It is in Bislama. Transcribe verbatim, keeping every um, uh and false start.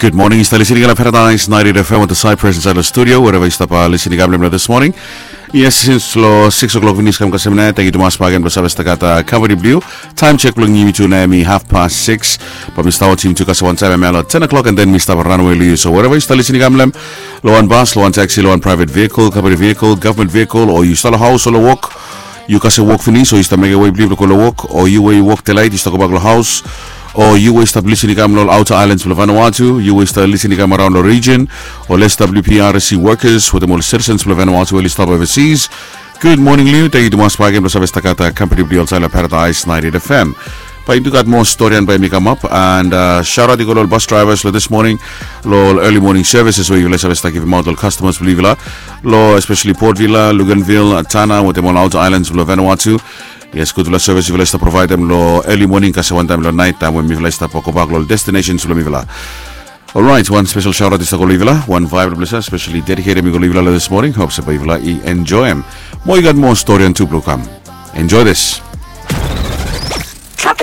Gud moning, yu stap lisin i kam long Paradise ninety-eight F M wetem Cyprus insaed long studio, wherever yu stap lisin i kam long this morning. Yes, since long six o'clock finis kam kasem nao, tangkiu tumas bakegen blong save stap gat company blong yu. Taem check blong yumi tu nao hemi half past six. Bae mi stap wajem yumi tu kasem wan taem hemia long ten o'clock, and then mi stap ranawe long yu. So wherever yu stap lisin i kam long, long wan bas, long wan taxi, long wan private vehicle, company vehicle, government vehicle, o yu stap long haos o long wok, yu kasem wok finis, o yu stap mekem wei blong yu blong go long wok, o yu we yu wok delaet yu stap gobak long haos, o yu we yu stap lisin i kam long ol outer islands blong Vanuatu, yu we yu stap lisin i kam araon long region, ol S W P R S C workers wetem ol citizens blong Vanuatu we oli stap overseas. Gud moning long yu, tangkiu tumas bakegen blong save stap gat company blong yu long Paradise ninety-eight F M. Bae yumi tu gat moa storian bae yumi kamap, and sharat i go long ol bus drivers long this morning, long ol early morning services we yufala i save stap givimaot long ol customers blong yufala, long especially Port Vila, Luganville, Tanna wetem ol outer islands blong Vanuatu. Yes, gudfala service yufala i stap provaedem long early morning kasem wantaem long naet, taem we mifala i stap gobak long ol destinations blong mifala. Alright, wan spesel sharat i stap go long yufala, wan vibe blong yufala, especially dedicated mi go long yufala long this morning. Hope se bae yufala i enjoem. Mo i gat moa storian tu blong kam. Enjoy this.